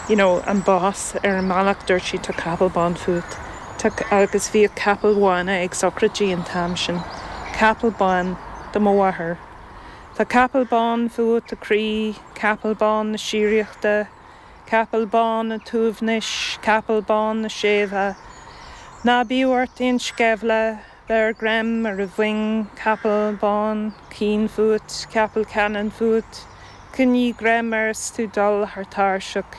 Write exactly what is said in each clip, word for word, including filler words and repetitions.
you know, an bás ar an mbealach dúirt sí tá capall bán fút. agus bhí capaill bhána ag sochraidí an t-am sin. Capall bán do mo mháthair. Tá capall bán fút a chroí, capall bán na síoraíochta, capall bán an tsuaimhnis, capall bán na séimhe. Ná bíodh ort aon sceimhle, beir greim ar a mhuin, capall bán cinn fút, capall ceannann fút, Coinnigh greim air is tú ag dul thar tairseach,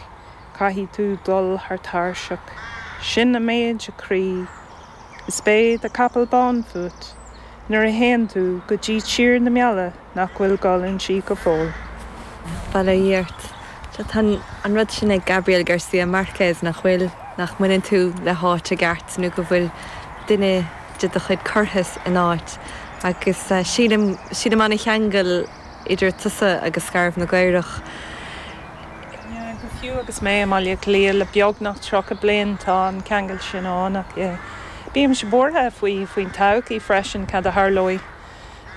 caithfidh tú dul thar tairseach. Sin an méid a chroí, Is beidh do capall bán fút, nuair a théann tú go dtí tír na meala nach bhfuil dul inti go fóill. Bail ó Dhia ort. Tá an rud sin ag Gabriel Garcia Marquez nach bhfuil nach mbaineann tú le háit i gceart nó go bhfuil duine de do chuid curtha in áit agus uh, sílim sílim an-cheangal idir tusa agus Scairbh na gCaorach. go fiú agus mé i mBaile Átha Cliath le beagnach tríocha bliain tá an ceangal sin ann ach Bímse buartha faoi faoin todhchaí freisin cad a tharlóidh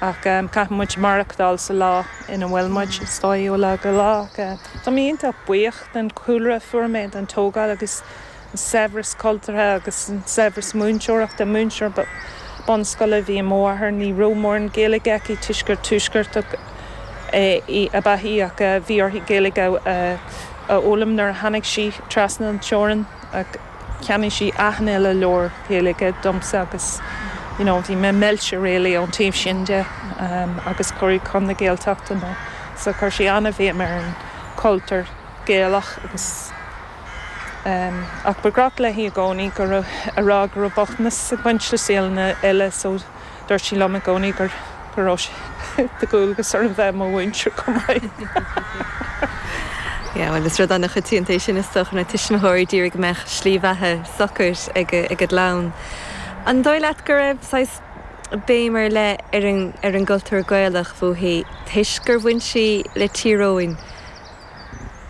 ach um, caithfidh muid maireachtáil sa lá ina bhfuil muid stoi ó lá go lá. Tá mé iontach buíoch den chúlra fuair mé den tógáil agus an saibhreas cultúrtha agus an saibhreas múinteoireachta múinteoir bunscoile bhí máthair ní raibh mórán Gaeilge aici toisc gur tuaisceartach í ab ea í ach bhí uirthi Gaeilge a fhoghlaim nuair a tháinig sí trasna an teorainn cheannaigh sí achan uile leabhar Gaeilge domsa agus you know, bhí mé millte really ón taobh sin de um, agus cuireadh chun na Gaeltachta mé. So chuir sí an-bhéim ar an cultúr Gaelach agus um, ach ba ghnách léi i gcónaí go a rá go raibh bochtanas ag baint le saol eile so dúirt sí liom i gcónaí gur go raibh de dhualgas orm bheith i mo mhúinteoir chomh maith. Ja, well is rud an-choitianta sin is dócha na tuismitheoirí ag iarraidh go mbeadh slí bheatha socair ag ag a gclann. An dóigh leat go raibh saghas béim ar leith ar an ar an gcultúr Gaelach fúithi toisc gur bhain sí le Tír Eoghain.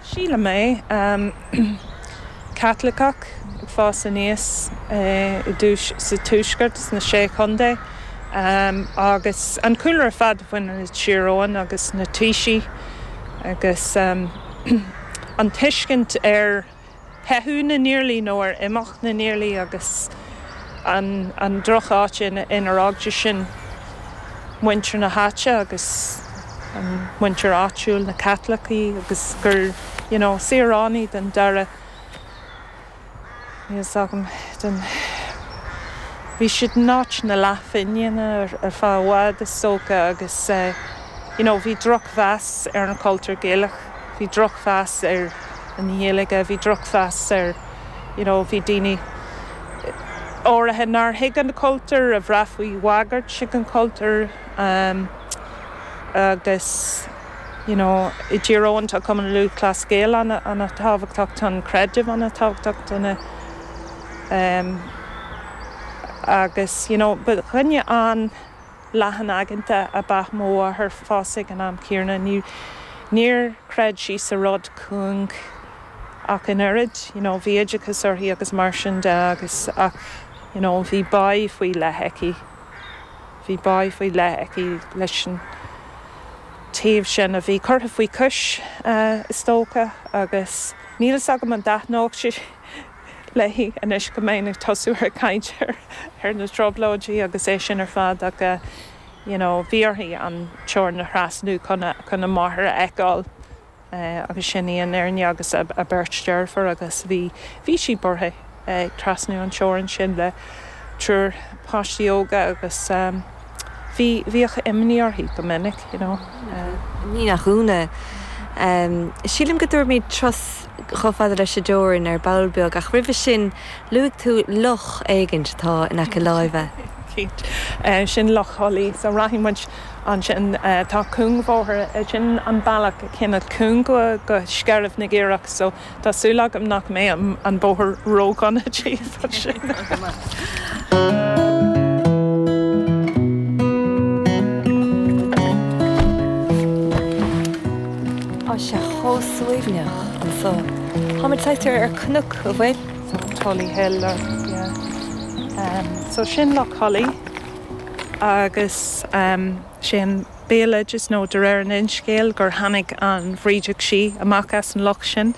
Sílim é um, Caitliceach ag fás aníos eh, i dtús sa tuaisceart sna sé chontae. Um, agus an cúlra fad bhain le Tír Eoghain agus na taoisigh agus um, an tuiscint ar theitheadh na nIarlaí nó ar imeacht na nIarlaí agus an, an drocháit inar fhág sin muintir na háite agus an muintir áitiúil na Caitlicigh agus gur you know, saoránaigh den dara agam den Bhí siad náit na lefinne ar ar feadh i bhfad is dócha agus uh, you know, bhí drochmheas ar an cultúr Gaelach, bhí drochmheas ar an Ghaeilge, bhí drochmheas ar you know, bhí daoine áirithe nár thuig an cultúr a bhraith faoi bhagairt ag an cultúr um, agus you know, i dTír Eoghain tá Cumann Lúthchleas Gael an-tábhachtach tá an creideamh an-tábhachtach dona um, agus you know, ba dhuine an-leathanaigeanta ab ea mo mháthair fosta ag an am céanna ní níor chreid sí sa rud cúng ach an oiread you know, bhí oideachas uirthi agus mar sin de agus ach you know, bhí bá faoi leith aici bhí bá faoi leith aici leis an taobh sin a bhí curtha faoi chois uh, is dócha agus níl a fhios agam an dtaitneodh sé léi anois go mbeinn ag tosú ar caint ar ar na trioblóidí agus é sin ar fad ach uh, you know, bhí uirthi an teorainn a thrasnú chun chun a máthair a fheiceáil. Uh, agus sin í an fhírinne agus a, a beirt deirfiúr agus bhí bhí sí buartha ag uh, trasnú an teorainn sin le triúr páistí óga agus um, bhí bhíodh imní uirthi go minic you know. Uh, Ní nach ionadh. Um, sílim go dtabharfaimid turas chomh fada leis an dteorainn ar ball beag ach roimhe sin luaigh tú loch éigin atá in aice láimhe. Uh, sin Loch Thulaí so rachaidh muid ansin uh, tá cúngbóthar sin an bealach cinenne cúng go go Scairbh na gCaorach so tá súil agam nach mbeidh an bóthar ródhona sin. Tá sé chomh suaimhneach anseo. Táimid saghas ar cnoc a bhfuil Tully Hill or, yeah. um, so sin Loch Thulaí agus um, sin béaloideas nó de réir an fhinscéil gur tháinig an Bhrídeach Sí amach as an loch sin